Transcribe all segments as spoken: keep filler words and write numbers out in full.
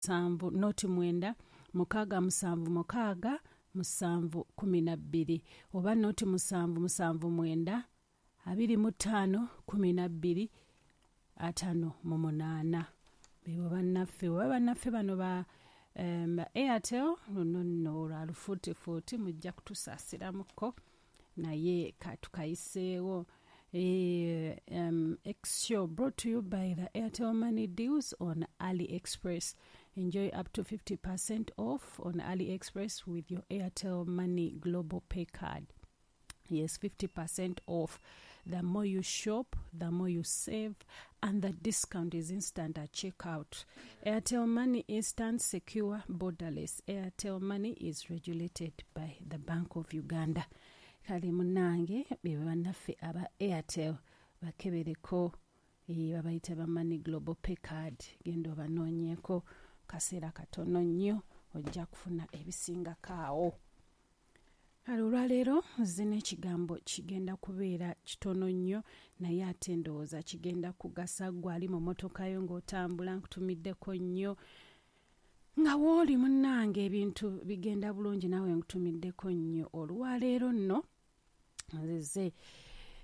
Musanvu noti mwenda mukaaga musanvu mukaaga musanvu kumi na bbiri oba noti musanvu musanvu mwenda abiri mu ttaano kumi na bbiri ataano mu munaana. Bebo bannaffe oba bannaffe bano ba um, Airtel. Luno nno olwa lufuutifuuti, mujja kutusaasiramuko, naye katukayiseewo. Eh, um, X Show brought to you by the Airtel Money deals on AliExpress. Enjoy up to fifty percent off on AliExpress with your Airtel Money Global Pay card. Yes, fifty percent off. The more you shop, the more you save, and the discount is instant at checkout. Airtel Money, instant, secure, borderless. Airtel Money is regulated by the Bank of Uganda. Kale munnange, be bannaffe aba Airtel, bakebereko, eh, babayita ba Money Global Pay Card. Genda obanoonyeeko, kaseera katono nnyo ojja kufuna ebisingako awo. Kale olwaleero nze n'ekigambo kigenda kubeera kitono nnyo, naye ate ndowooza kigenda kugasa ggwe ali mu mmotoka yo ng'otambula. Nkutumiddeko nnyo nga wooli munnange, ebintu bigenda bulungi, naawe nkutumiddeko nnyo. Olwaleero nno nzize,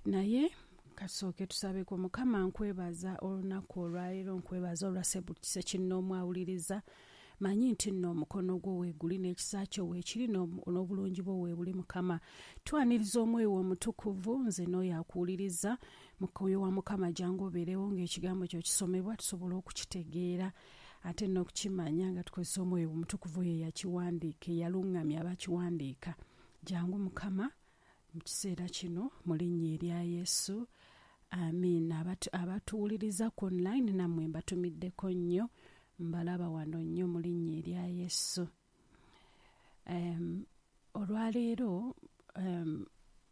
naye kasooke tusabeko. Mukama, nkwebaza olunaku olwaleero, nkwebaza olwa Ssekinnoomu awuliriza. Manyi nti nno omukono gwo weeguli n'ekisa kyo weekiri n'obulungi bwo weebuli. Mukama, twaniriza Omwoyo Omutukuvu, nze n'oyo akuwuliriza. Mwoyo wa Mukama, jangu obeerewo ng'ekigambo kyo kisomebwa, tusobole okukitegeera ate n'okukimanya nga tukozesa Omwoyo Omutukuvu oyo eyakiwandiika, eyaluŋŋamya abakiwandiika. Jangu Mukama mu kiseera kino, mu linnya erya Yesu, amiina. Abatuwuliriza ku online nammwe mbatumiddeko nnyo, mbalaba wano nnyo mu linnya erya Yesu. um, olwaleero um,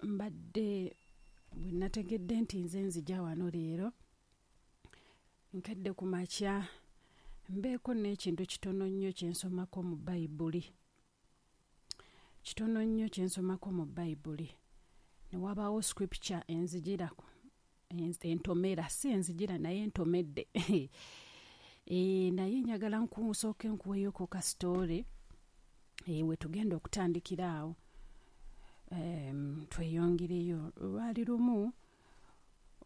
mbadde bwe nategedde nti nze nzija wano leero, nkedde ku makya mbeeko n'ekintu kitono nnyo kyensomako mu Bayibuli, kitono nnyo kyensomako mu Bayibuli, ne wabaawo scripture enzijirako, entomera, si enzijira naye entomedde. E, naye njagala nkusooke nkuweeyoko ka story e, we tugenda okutandikira awo, um, tweyongereyo. Lwali lumu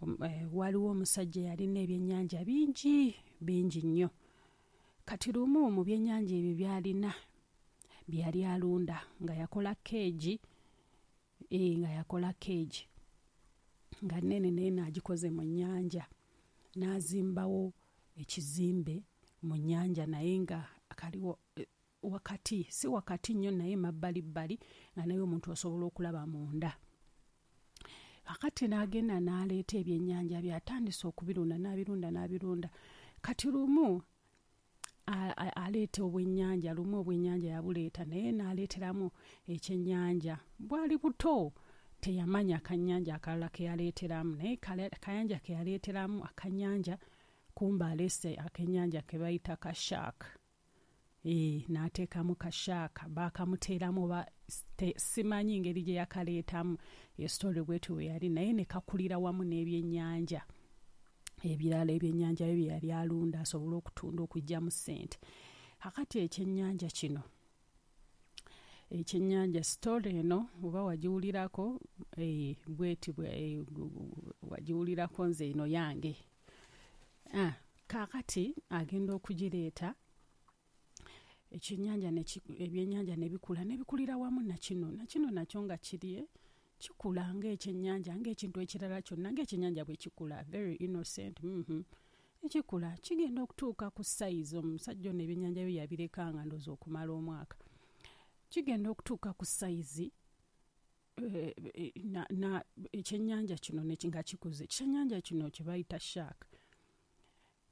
um, e, waliwo omusajja yalina ebyennyanja bingi bingi nnyo. Kati lumu mu byennyanja ebyo byalina bye yali alunda, nga yakola cage, e, nga yakola cage nga nnene, naye n'agikoze mu nnyanja, n'azimbawo ekizimbe mu nnyanja, naye nga kaliwo wakati, si wakati nnyo naye mabbalibbali, nga naye omuntu osobola okulaba munda. Kakati n'agenda n'aleeta ebyennyanja byatandise okubirunda, n'abirunda, n'abirunda. Kati lumu aleeta obwennyanja, lumu obwennyanja yabuleeta, naye n'aleeteramu ekyennyanja, bwali buto, teyamanya akannyanja akalala ke yaleeteramu, naye kayanja ke yaleeteramu akannyanja, kumba aleese akennyanja ke bayita ka shark. E, n'ateekamu ka shark, baakamuteeramu ba simanyi ngeri gye yakaleetamu, e story bwetyo bwe yali, naye ne kakulira wamu n'ebyennyanja ebirala, ebyennyanja bye bye yali alunda asobole okutunda okuggyamu ssente. Kakati ekyennyanja kino, ekyennyanja, story eno oba wagiwulirako, e, bweti e, wagiwulirako, nze eno yange. Ah, kaakati agenda okugireeta ekyennyanja, ebyennyanja ne bikula, ne bikulira wamu nakino, nakino nakyo nga kiri kikula ng'ekyennyanja, ng'ekintu ekirala kyonna, ng'ekyennyanja bwe kikula, very innocent. mm -hmm. Ekikula kigenda okutuuka ku size, omusajja ono ebyennyanja bye yabireka nga ndowooza okumala omwaka, kigenda okutuuka ku size, na, na ekyennyanja kino nga kikuze, ekyennyanja kino kye bayita shark,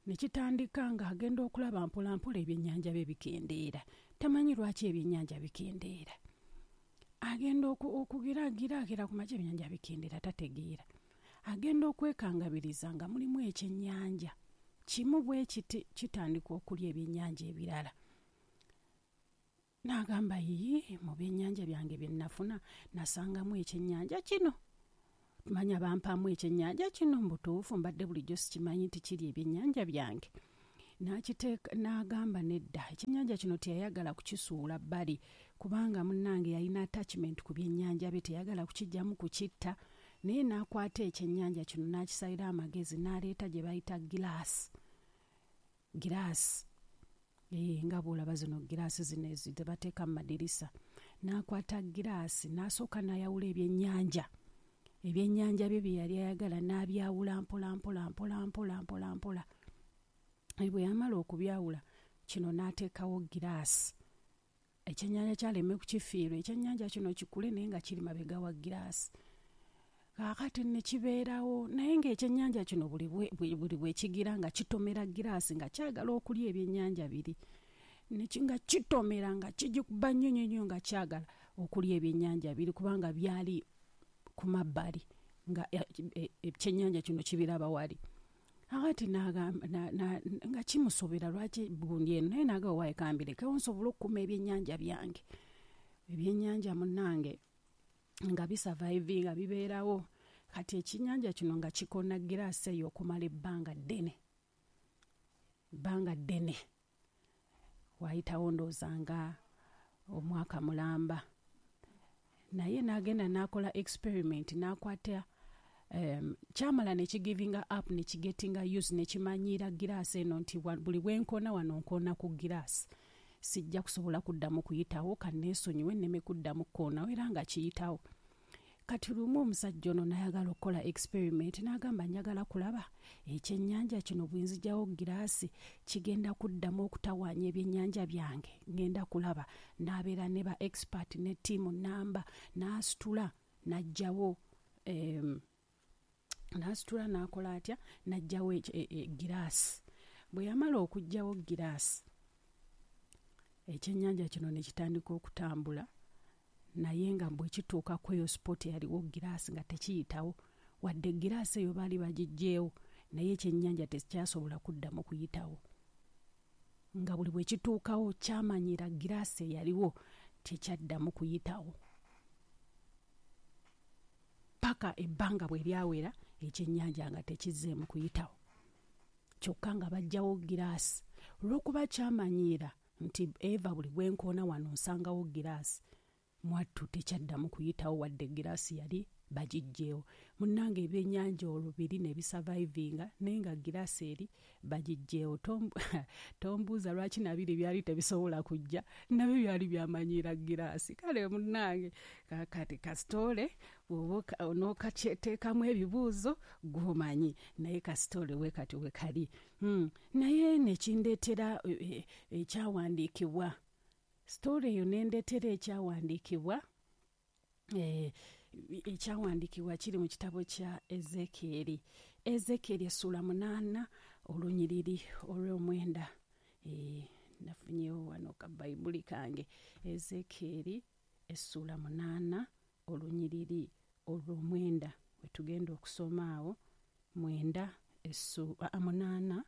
ne kitandika ng'agenda okulaba mpola mpola ebyennyanja bye bikendeera. Tamanyi lwaki ebyennyanja bikendeera. Agenda okugiragiragira ku makya, ebyennyanja bikendeera, tategeera. Agenda okwekangabiriza nga mulimu ekyennyanja kimu bwe kiti kitandika okulya ebyennyanja ebirala. N'agamba, "Yiyi, mu byennyanja byange bye nafuna nasangamu ekyennyanja kino, manya bampaamu ekyennyanja kino, mu butuufu mbadde bulijjo sikimanyi nti kiri ebyennyanja byange." N'akiteeka n'agamba nedda, ekyennyanja kino teyayagala kukisuula bbali kubanga munnange yalina attachment ku byennyanja bye, teyagala kukiggyamu kukitta. Naye n'akwata ekyennyanja kino n'akisalira amagezi n'aleeta gye bayita giraasi. Giraasi ee nga bw'olaba zino giraasi zino ezi ze bateeka mu madirisa. N'akwata giraasi n'asooka n'ayawula ebyennyanja. Ebyennyanja bye bye yali ayagala n'abyawula mpola mpola mpola mpola mpola mpola. Bwe yamala okubyawula kino n'ateekawo giraasi. Ekyennyanja kyaleme kukifiirwa, ekyennyanja kino kikule naye nga kiri mabega wa giraasi. Kaakati ne kibeerawo naye ng'ekyennyanja kino buli bwe buli bwe kigira nga kitomera giraasi nga kyagala okulya ebyennyanja biri. Ne nga kitomera nga kigikuba nnyo nnyo nnyo nga kyagala okulya ebyennyanja biri kubanga byali ku mabbali nga ekyennyanja kino kibiraba wali. Akati n'agamba nga kimusobera lwaki gundi eno, naye n'agamba waayi kambirekewo nsobole okukuuma ebyennyanja byange. Ebyennyanja munnange nga bisurvivinga bibeerawo. Kati ekyennyanja kino nga kikona giraasi eyo okumala ebbanga ddene, ebbanga ddene. Waayitawo ndowooza nga omwaka mulamba. Naye n'agenda n'akola experiment n'akwata um, kyamala ne kigivinga up ne kigetinga used ne kimanyiira giraasi eno nti buli bwe nkoona wano nkoona ku giraasi. Sijja kusobola kuddamu kuyitawo, kanneesonyiwe nneme kuddamu kukoonawo, era nga kiyitawo. Kati lumu omusajja ono n'ayagala okukola experiment n'agamba njagala kulaba ekyennyanja kino bwe nzigyawo giraasi kigenda kuddamu okutawaanya ebyennyanja byange, ngenda kulaba. N'abeera ne ba expert ne ttiimu nnamba, n'asitula n'aggyawo um, n'asitula n'akola atya, n'aggyawo giraasi. Bwe yamala okuggyawo giraasi, ekyennyanja kino ne kitandika okutambula, naye nga bwe kituuka ku eyo spot eyaliwo giraasi nga tekiyitawo. Wadde giraasi eyo baali bagiggyeewo, naye ekyennyanja tekyasobola kuddamu kuyitawo. Nga buli bwe kituukawo kyamanyira giraasi eyaliwo tekyaddamu kuyitawo. Paka ebbanga bwe lyawera ekyennyanja nga tekizzeemu kuyitawo. Kyokka nga baggyawo giraasi. Olw'okuba kyamanyiira nti Eva buli bwe nkoona wano nsangawo giraasi, mwattu tekyaddamu kuyitawo wadde giraasi yali bagiggyeewo. Munnange ebyennyanja olwo biri ne bisurvivinga naye nga giraasi eri bagiggyeewo. Tombuuza lwaki nabiri byali tebisobola kujja, nabyo byali byamanyiira giraasi. Kale munnange kati kasitoole bw'oba onookateekamu ebibuuzo gw'omanyi, naye kasitoole we kati we kali. Hmm. Naye ne kindeetera ekyawandiikibwa. Sitoole eyo n'endeetera ekyawandiikibwa. Eh, ekyawandiikibwa kiri mu kitabo kya Ezekieri. Ezekieri essuula munaana olunyiriri olw'omwenda. Eh, nafunyeewo wano ka Bayibuli kange. Ezekieri essuula munaana olunyiriri olw'omwenda. We tugenda okusoma awo mwenda essu, a, munaana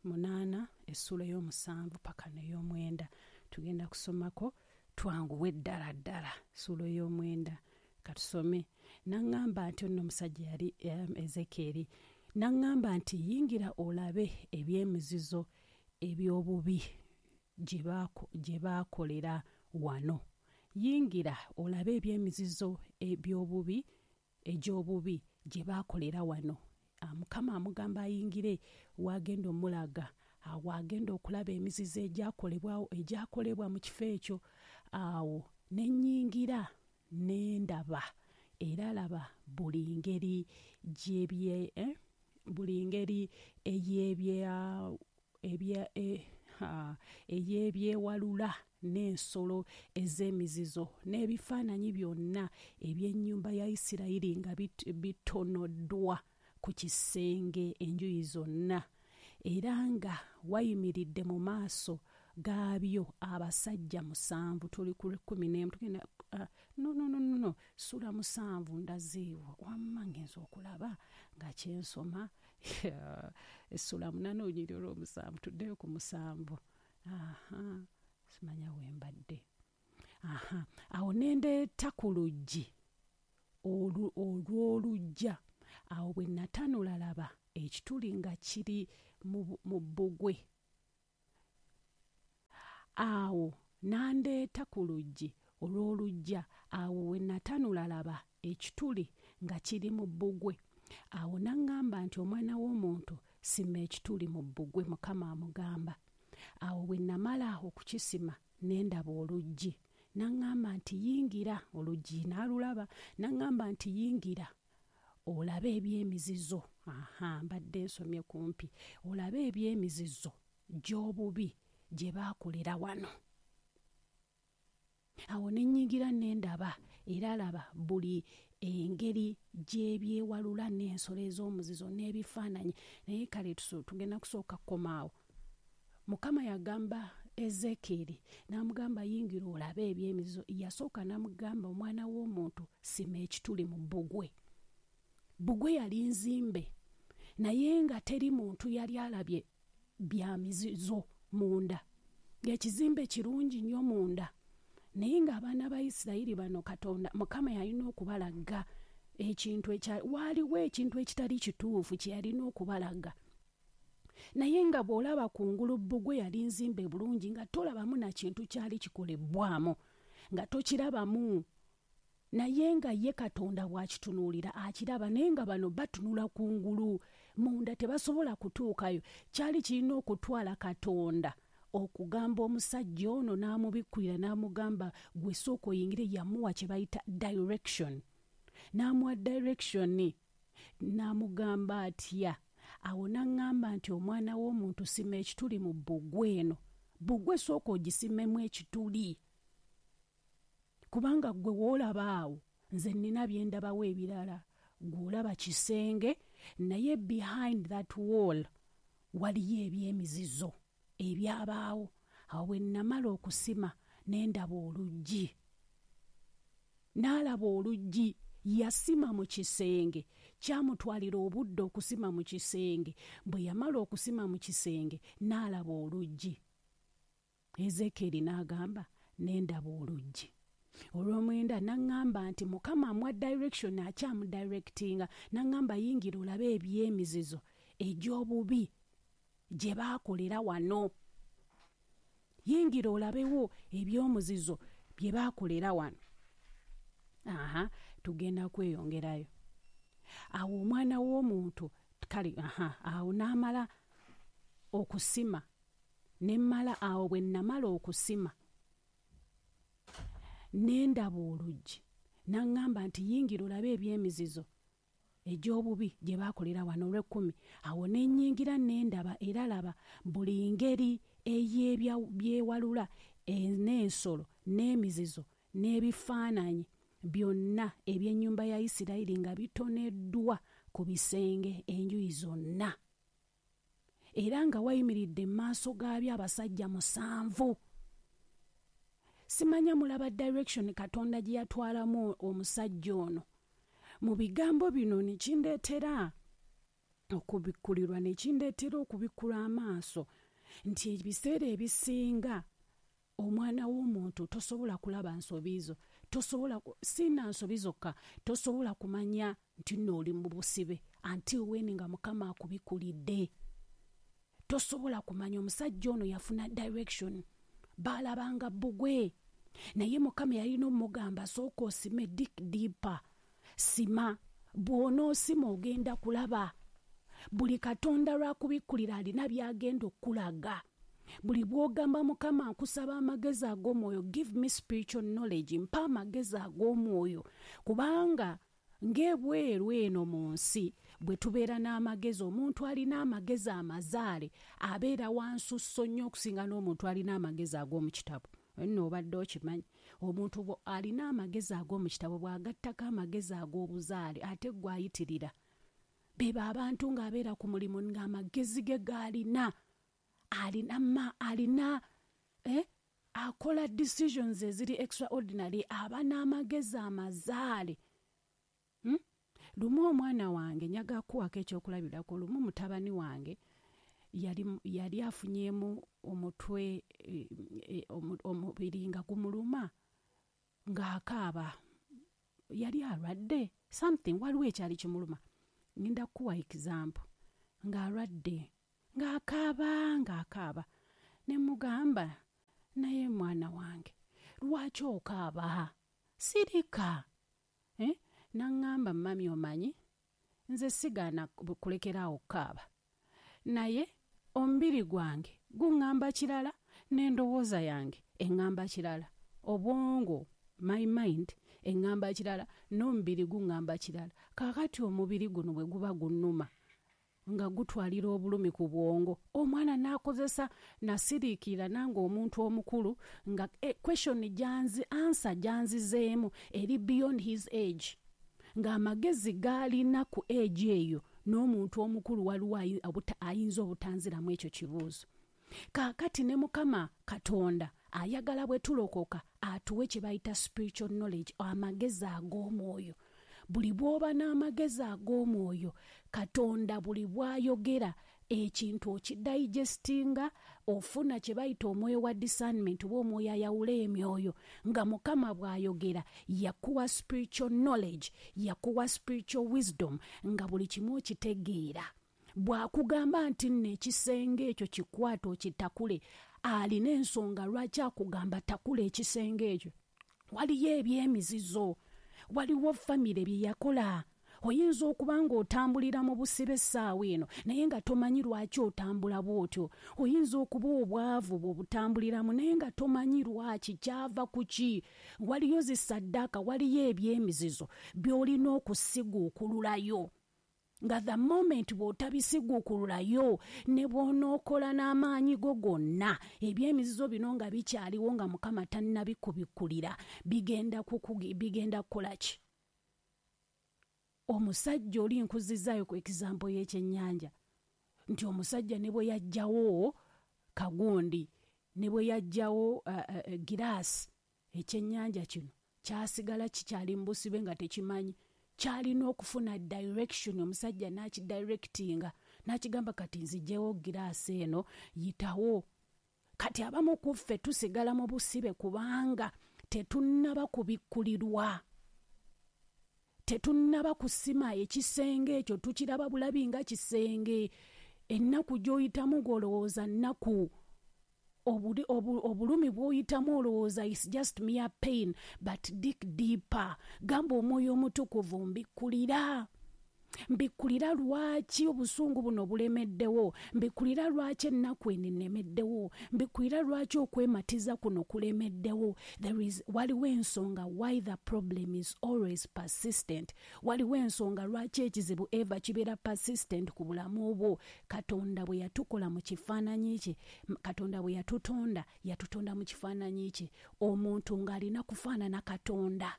munaana essuula ey'omusanvu paka n'ey'omwenda. Tugenda kusomako twanguwe ddala ddala ssuula ey'omwenda. Katusome. N'aŋŋamba nti ono omusajja yali um, Ezekieri. N'aŋŋamba nti yingira olabe eby'emizizo eby'obubi gye baakolera wano. Yingira olabe eby'emizizo eby'obubi egy'obubi gye baakolera wano. Mukama amugamba ayingire wagenda omulaga, awo agenda okulaba emizizo egyakolebwawo egyakolebwa mu kifo ekyo. Awo ne nnyingira ne ndaba, era laba buli ngeri gy'ebye eh? buli ngeri ey'ebya ebya eh, ey'ebyewalula n'ensolo ez'emizizo n'ebifaananyi byonna eby'ennyumba ya Isirayiri nga bitonoddwa ku kisenge enjuyi zonna, era nga wayimiridde mu maaso gaabyo abasajja musanvu. Tuli ku kkumi n'emu tugenda uh, no no no no ssuula musanvu ndazeewo wamma ngenza okulaba nga kyensoma essuula munaana olunyiriri olw'omusanvu, tuddeyo ku musanvu. Aha, simanya we mbadde. Aha, awo ne ndeeta ku luggi olw'oluggya. Awo bwe natanula laba ekituli nga kiri mu bbugwe. Awo n'andeeta ku luggi olw'oluggya, awo we natanula laba ekituli nga kiri mu bbugwe. Awo n'aŋŋamba nti, omwana w'omuntu, sima ekituli mu bbugwe, Mukama amugamba. Awo bwe namala okukisima ne ndaba oluggi. N'aŋŋamba nti yingira, oluggi n'alulaba, n'aŋŋamba nti yingira olabe eby'emizizo. Aha, mbadde nsomye kumpi. Olabe eby'emizizo gy'obubi gye baakolera wano. Awo ne nnyingira ne ndaba, era laba buli engeri gy'ebyewalula n'ensolo ez'omuzizo n'ebifaananyi. Naye kale tugenda kusooka kukomaawo. Mukama yagamba Ezekieri n'amugamba yingira olabe eby'emizizo. Yasooka n'amugamba omwana w'omuntu sima ekituli mu bbugwe. Bbugwe yali nzimbe, naye nga teri muntu yali alabye bya mizizo munda. Ng'ekizimbe kirungi nnyo munda, naye ng'abaana ba Isirayiri bano Katonda Mukama yalina okubalaga ekintu ekya waaliwo ekintu ekitali kituufu kye yalina okubalaga. Naye nga bw'olaba kungulu bbugwe yali nzimbe bulungi, nga tolabamu na kintu kyali kikolebwamu, nga tokirabamu. Naye nga ye Katonda bw'akitunuulira akiraba, naye nga bano batunula kungulu munda tebasobola kutuukayo. Kyali kirina okutwala Katonda okugamba omusajja ono n'amubikkulira n'amugamba gwe sooka oyingire. Yamuwa kye bayita direction, n'amuwa direction n'amugamba atya. Awo n'aŋŋamba nti omwana w'omuntu sima ekituli mu bbugwe eno. Bbugwe sooka ogisimemu ekituli, kubanga ggwe w'olaba awo nze nnina bye ndabawo ebirala. Ggwe olaba kisenge, naye behind that wall waliyo eby'emizizo ebyabaawo. Awo bwe namala okusima ne ndaba oluggi. N'alaba oluggi, yasima mu kisenge. Kyamutwalira obudde okusima mu kisenge. Bwe yamala okusima mu kisenge n'alaba oluggi. Ezekieri n'agamba ne ndaba oluggi. Olw'omwenda n'aŋŋamba nti Mukama amuwa direction, akyamudirectinga, n'aŋŋamba yingira olabe eby'emizizo egy'obubi gye baakolera wano. Yingira olabewo eby'omuzizo bye baakolera wano. Aha, tugenda kweyongerayo. Awo omwana w'omuntu kale, aha, awo n'amala okusima ne mmala, awo bwe namala okusima ne ndaba oluggi. N'aŋŋamba nti yingira olabe eby'emizizo egy'obubi gye baakolera wano. Olw'ekkumi, awo ne nnyingira ne ndaba, era laba buli ngeri ey'ebyewalula n'ensolo n'emizizo n'ebifaananyi byonna eby'ennyumba ya Isirayiri nga bitoneddwa ku bisenge enjuyi zonna, era nga wayimiridde mu maaso gaabyo abasajja musanvu. Simanya mulaba direction Katonda gye yatwalamu omusajja ono. Mu bigambo bino ne kindeetera okubikkulirwa, ne kindeetera okubikkula amaaso nti ebiseera ebisinga omwana w'omuntu tosobola kulaba nsobi zo, tosobola sina nsobi zokka, tosobola kumanya nti nno oli mu busibe until when nga Mukama akubikkulidde. Tosobola kumanya. Omusajja ono yafuna direction, baalabanga bbugwe, naye Mukama yalina omugamba sooka osime, dig deeper, sima. Bw'onoosima ogenda kulaba. Buli Katonda lwakubikkulira alina by'agenda okulaga. Buli bw'ogamba Mukama nkusaba amagezi ag'omwoyo, give me spiritual knowledge, mpa amagezi ag'omwoyo, kubanga ng'ebweru eno mu nsi bwe tubeera n'amagezi, omuntu alina amagezi amazaale abeera wansusso nnyo okusinga n'omuntu alina amagezi ag'omu kitabo. Nno obadde okimanyi, omuntu alina amagezi ag'omu kitabo bw'agattako amagezi ag'obuzaale ate gwe ayitirira. Beba abantu ng'abeera ku mulimu ng'amagezi ge g'alina alina ma alina eh, akola decisions eziri extraordinary, aba n'amagezi amazaale. Hmm? Lumu omwana wange njaga kuwako ekyokulabirako. Lumu mutabani wange yali, yali afunyeemu omutwe e, e, omubiri nga gumuluma ng'akaaba, yali alwadde something, waliwo ekyali kimuluma. Ngenda kukuwa example. Ng'alwadde, ng'akaaba, ng'akaaba. Ne mugamba, naye mwana wange, lwaki okaaba? Sirika. Eh? N'aŋŋamba, mami omanyi, nze sigaana kulekeraawo okukaaba. Naye omubiri gwange guŋŋamba kirala n'endowooza yange eŋŋamba kirala. Obwongo, my mind, eŋŋamba kirala n'omubiri guŋŋamba kirala. Kaakati omubiri guno bwe guba gunnuma nga gutwalira obulumi ku bwongo, omwana n'akozesa nasiriikirira nange omuntu omukulu nga eh, question gyanzi, answer gyanzizeemu eri beyond his age, ng'amagezi g'alina ku age eyo n'omuntu omukulu waliwo ayinza obutanziramu ekyo kibuuzo. Kaakati ne Mukama Katonda ayagala bwe tulokoka atuwe kye bayita spiritual knowledge, amagezi ag'omwoyo. Buli bw'oba n'amagezi ag'omwoyo, Katonda buli bw'ayogera ekintu okidigestinga, ofuna kye bayita omwoyo wa discernment oba omwoyo ayawula emyoyo. Nga Mukama bw'ayogera yakuwa spiritual knowledge, yakuwa spiritual wisdom, nga buli kimu okitegeera. Bw'akugamba nti nno ekisenge ekyo kikwate okitakule, alina ensonga lwaki akugamba takula ekisenge ekyo. Waliyo eby'emizizo, waliwo famire bye yakola. Oyinza okuba ng'otambulira mu busibe essaawa eno naye nga tomanyi lwaki otambula bw'otyo. Oyinza okuba obwavu bw'obutambuliramu naye nga tomanyi lwaki, kyava ku ki. Waliyo zisaddaaka, waliyo eby'emizizo by'olina okusiguukululayo. Nga the moment bw'otabisiguukululayo ne bw'onookola n'amaanyi go gonna, eby'emizizo bino nga bikyaliwo nga Mukama tannabikubikkulira, bigenda kukugi, bigenda kukola ki? Omusajja oli nkuzizaayo ku example y'ekyennyanja nti omusajja ne bwe yajjawo kagundi, ne bwe yajjawo uh, uh, giraasi, ekyennyanja kino kyasigala kikyali mu busibe nga tekimanyi. Kyalina okufuna direction, omusajja n'akidirectinga n'akigamba kati nzigyewo giraasi eno yitawo. Kati abamu ku ffe tusigala mu busibe kubanga tetunnaba kubikkulirwa, tetunnaba kusima ekisenge ekyo, tukiraba bulabi nga kisenge. Ennaku gy'oyitamu ng'olowooza nnaku, obulumi bw'oyitamu olowooza is just mere pain, but dig deeper. Gamba omwoyo omutukuvu, mbikkulira, mbikkulira lwaki obusungu buno bulemeddewo, mbikkulira lwaki ennaku eno ennemeddewo, mbikkulira lwaki okwematiza kuno kulemeddewo. There is, waliwo ensonga why the problem is always persistent. Waliwo ensonga lwaki ekizibu eva kibeera persistent ku bulamu bwo. Katonda bwe yatukola mu kifaananyi kye, Katonda bwe yatutonda, yatutonda mu kifaananyi kye. Omuntu ng'alina kufaanana Katonda.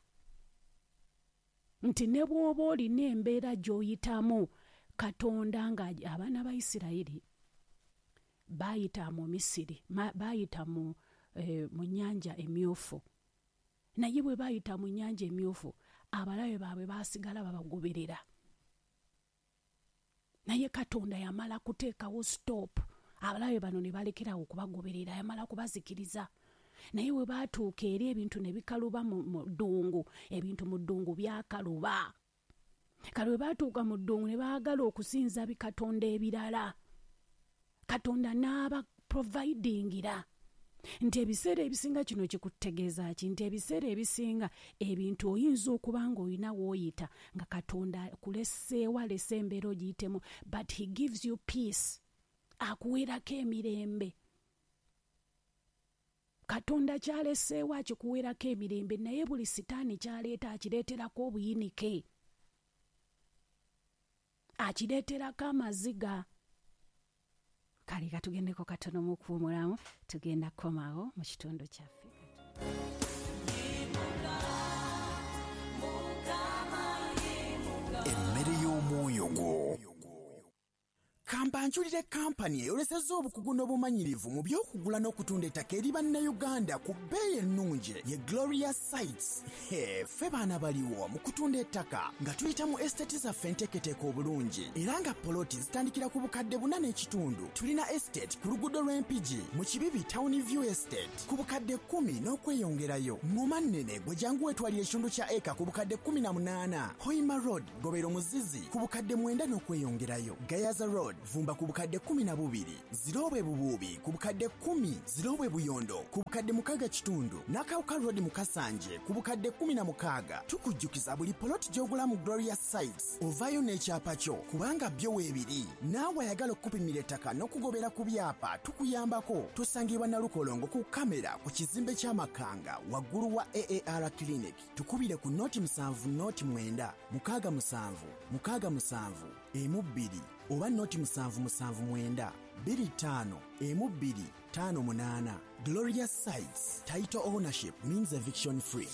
Nti ne bw'oba olina embeera gy'oyitamu, Katonda nga abaana ba Isirayiri baayita mu Misiri, baayita mu, eh, mu nnyanja emyufu. Naye bwe baayita mu nnyanja emyufu, abalabe baabwe baasigala babagoberera. Naye Katonda yamala kuteekawo stop, abalabe bano ne balekerawo okubagoberera, yamala kubazikiriza. Naye bwe baatuuka eri ebintu ne bikaluba mu ddungu, ebintu mu ddungu byakaluba. Kale bwe baatuuka mu ddungu ne baagala okusinza bikatonda ebirala, Katonda n'aba providingira. Nti ebiseera ebisinga kino kikutegeeza ki? Nti ebiseera ebisinga ebintu oyinza okuba ng'olina w'oyita nga Katonda akuleseewo, alese embeera ogiyitemu, but he gives you peace, akuweerako emirembe. Katonda kyaleseewo akikuweerako emirembe, naye buli sitaani kyaleeta akireeterako obuyinike, akireeterako amaziga. Kale katugendeko katono mu kuwummulamu, tugenda kukomawo mu kitundu kyaffe. Emmere y'omwoyo gwo. Kambanjulire kampani eyolesezza obukugu n'obumanyirivu mu by'okugula n'okutunda ettaka eri bannayuganda ku bbeeyi ennungi ye Gloria Sites. He, ffe baana baliwo mu kutunda ettaka nga tuyita mu estate zaffe enteeketeeke obulungi era nga poloti zitandikira ku bukadde buna n'ekitundu. Tulina estate ku luguudo lw'Empigi mu Kibibi Town View Estate ku bukadde kkumi n'okweyongerayo. Ngoma nnene gwe jangu weetwalira ekitundu kya eka ku bukadde kkumi na munaana. Hoima Road Gobero Muzizi ku bukadde mwenda n'okweyongerayo. Gayaza Road Kavumba ku bukadde kkumi na bubiri, Zirobwe Bubuubi ku bukadde kkumi, Zirobwe Buyondo ku bukadde mukaaga kitundu, Nakawuka Road mu Kasanje ku bukadde kkumi na mukaaga. Tukujjukiza buli poloti gy'ogula mu Gloria Sites ovaayo n'ekyapa kyo kubanga byo weebiri. Naawe ayagala okukupimira ettaka n'okugobera ku byapa tukuyambako. Tusangibwa Nalukolongo ku kamera ku kizimbe ky'Amakanga waggulu wa A A R Clinic. Tukubire ku noti musanvu noti mwenda mukaaga musanvu mukaaga musanvu emu bbiri oba noti musanvu musanvu mwenda bbiri ttaano emu bbiri ttaano munaana. Gloria Sites, title ownership means eviction free.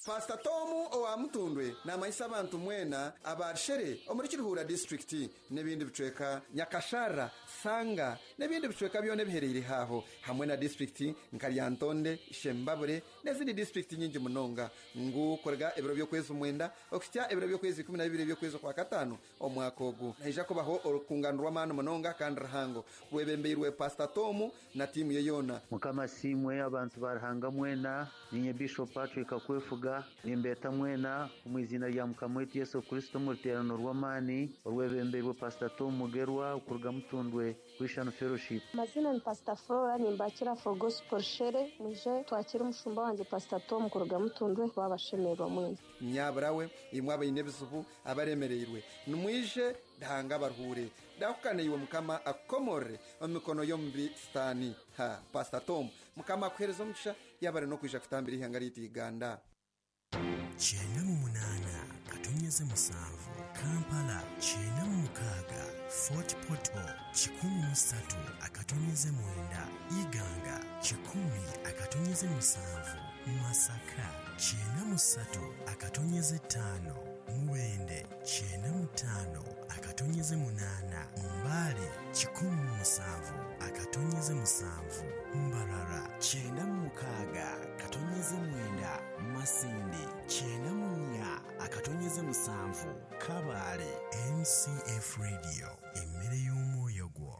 Pastor Tomu owa Mutundwe n'amanyisa abantu mwena abarshere omuri Kiruhura district n'ebindi bicweka Nyakashara, Sanga n'ebindi bicweka byone biherereye haho hamwe na district nka Lyantonde, Shembabure n'ezindi district nyingi munonga ngu korega ebiro by'okwezi mwenda okutya ebiro by'okwezi kumi na bibiri by'okwezi kwa katano omwaka ogu naija kubaho orukungano rw'amaani munonga kandi ruhango rwebembeirwe Pastor Tomu na tiimu ye yona. Mukama simwe abantu barahanga mwena ninye Bishop Patrick Akwefuga nimbeta mwena omwizina rya Mukama wetu Yesu Kristo mu ruterano rw'amaani orwebembeirwe Pastor Tom Mugerwa okuruga Mutundwe Christian Fellowship. Mazina ni Pastor Flora nimbakira for Gospel Shere muje twakira umushumba wanje Pastor Tom kuruga Mutundwe babashemerwa mwena. Nyaburawe imwe abaine ebizibu abaremereirwe nimwije dahanga baruhure dakukane iwe Mukama akomore omikono yombi stani ha Pastor Tom Mukama akuhereza omugisha yabare no kwija kutambira ihanga ry'itu Uganda. Kyenda mu munaana katonyeze musanvu Kampala, kyenda mu mukaaga Fort Portal, kikumi mu ssatu akatonyeze mwenda Iganga, kikumi akatonyeze musanvu Masaka, kyenda mu ssatu akatonyeze ttaano Mubende, kyenda mu ttaano akatonyeze munaana Mbale, kikumi mu musanvu akatonyeze musanvu Mbarara, kyenda mu mukaaga katonyeze mwenda Masindi, kyenda mu nnya akatonyeze musanvu Kabale. M C F Radio, emmere y'omwoyo gwo.